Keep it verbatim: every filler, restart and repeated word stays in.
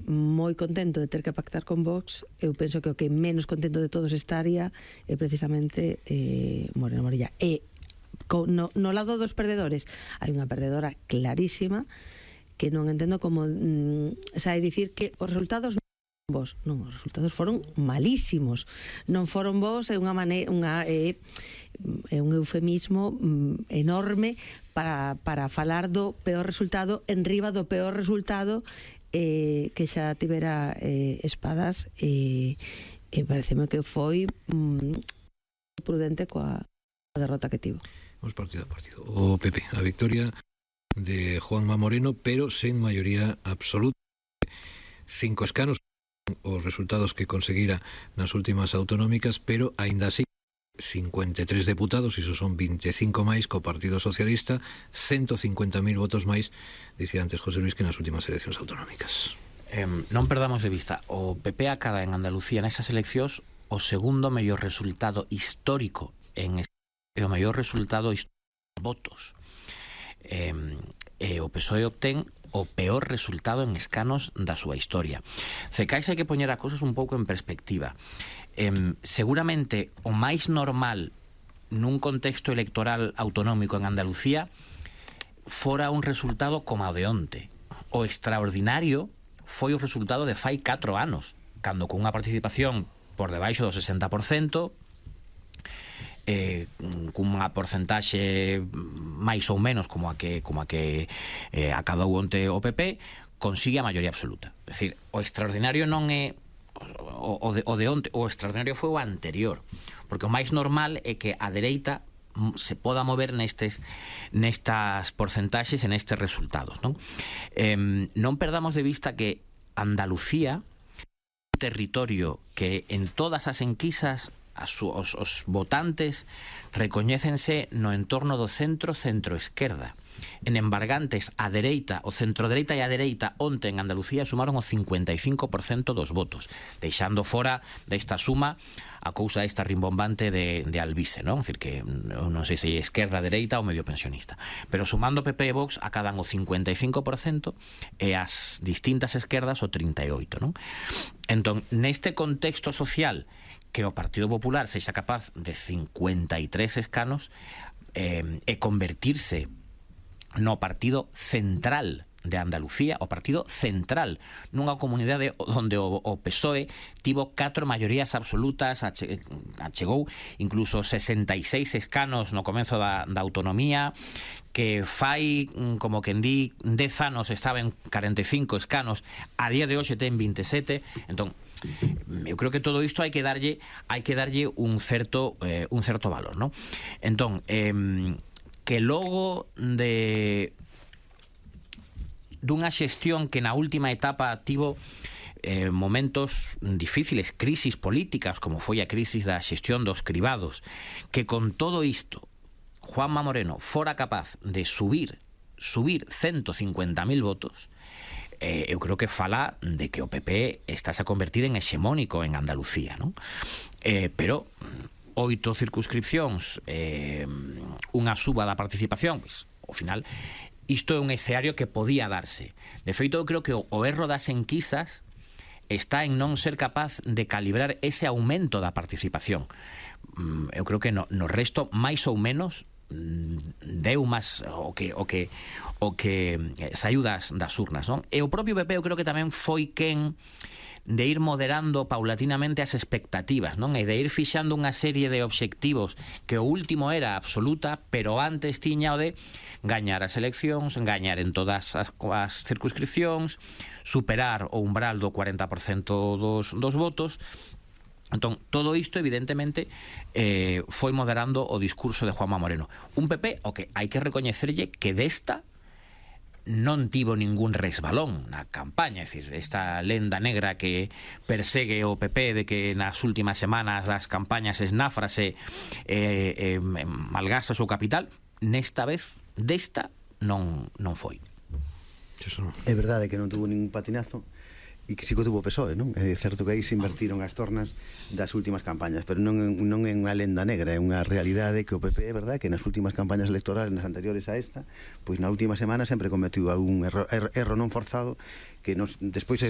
moi contento de ter que pactar con Vox. Eu penso que o que menos contento de todos esta área é precisamente eh, Moreno Morilla. E no, no lado dos perdedores hai unha perdedora clarísima que non entendo como mm, sai dicir que os resultados vos, non, os resultados foron malísimos, non foron vos, é unha maneira, unha é, é un eufemismo mm, enorme para, para falar do peor resultado en riba do peor resultado eh, que xa tivera eh, espadas e eh, eh, pareceme que foi mm, prudente coa derrota que tivo. Vamos partido a partido. O P P, a victoria de Juanma Moreno, pero sen maioría absoluta. Cinco escanos, os resultados que conseguira nas últimas autonómicas, pero aínda así cincuenta e tres deputados, iso son veinticinco máis co Partido Socialista, ciento cincuenta mil votos máis, dicía antes José Luis, que nas últimas eleccións autonómicas. Eh, non perdamos de vista, o P P acada en Andalucía nesas eleccións o segundo mellor resultado histórico en e o mellor resultado histórico en votos. Eh, e o P S O E obtén o peor resultado en escanos da súa historia. Cecais hai que poñer a cosas un pouco en perspectiva. Eh, seguramente o máis normal nun contexto electoral autonómico en Andalucía fora un resultado como o de onte. O extraordinario foi o resultado de fai catro anos, cando con unha participación por debaixo do sesenta por cento, eh, cunha porcentaxe máis ou menos como a que como a que eh, acadou onte o P P, consigue a maioría absoluta. É dicir, o extraordinario non é o, o, de, o de onte, o extraordinario foi o anterior, porque o máis normal é que a dereita se poda mover nestes nestas porcentaxes e nestes resultados, non? Eh, non perdamos de vista que Andalucía é un territorio que en todas as enquisas as, os, os votantes recoñécense no entorno do centro centro-esquerda. En embargantes, a dereita, o centro-dereita e a dereita onte en Andalucía sumaron o cincuenta e cinco por cento dos votos, deixando fora desta suma a cousa esta rimbombante de, de Alvise, non? É dicir, que non sei se é esquerda, dereita ou medio pensionista. Pero sumando P P e Vox acadan o cincuenta e cinco por cento e as distintas esquerdas o trinta e oito por cento, non? Entón, neste contexto social que o Partido Popular sexa capaz de cincuenta e tres escanos eh, e convertirse no partido central de Andalucía, o partido central nunha comunidade onde o, o P S O E tivo catro maiorías absolutas, ache, achegou incluso sesenta e seis escanos no comenzo da, da autonomía, que fai, como quen di, dez anos estaba en cuarenta e cinco escanos, a día de hoxe ten veintisiete. Entón, eu creo que todo isto hai que darlle hai que darlle un certo eh, un certo valor, ¿no? Entón, eh, que logo de dunha xestión que na última etapa tivo eh, momentos difíciles, crisis políticas, como foi a crisis da xestión dos cribados, que con todo isto Juanma Moreno fora capaz de subir subir ciento cincuenta mil votos, eh, eu creo que fala de que o P P está a convertir en hexemónico en Andalucía, ¿no? Eh, pero oito circunscripcións, eh, unha suba da participación, pois, ao final, isto é un escenario que podía darse. De feito, eu creo que o, o erro das enquisas está en non ser capaz de calibrar ese aumento da participación. Eu creo que no, no resto, máis ou menos, deu máis o que o que o que saiu das, das urnas, non? E o propio P P eu creo que tamén foi quen de ir moderando paulatinamente as expectativas, non? E de ir fixando unha serie de obxectivos que o último era absoluta, pero antes tiña o de gañar as eleccións, gañar en todas as, as circunscripcións, superar o umbral do cuarenta por cento dos, dos votos. Entón, todo isto, evidentemente, eh, foi moderando o discurso de Juanma Moreno. Un P P o que hai que recoñecerlle que desta non tivo ningún resbalón na campaña, é dicir, esta lenda negra que persegue o P P de que nas últimas semanas das campañas esnáfrase eh, eh, malgasta o seu capital, nesta vez, desta, non, non foi. É verdade que non tuvo ningún patinazo, e que si que tuvo P S O E, non? É certo que aí se invertiron as tornas das últimas campañas, pero non, non é unha lenda negra, é unha realidade que o P P, é verdad, que nas últimas campañas electorales, nas anteriores a esta, pois na última semana sempre cometiu algún erro, erro, erro non forzado que nos, despois é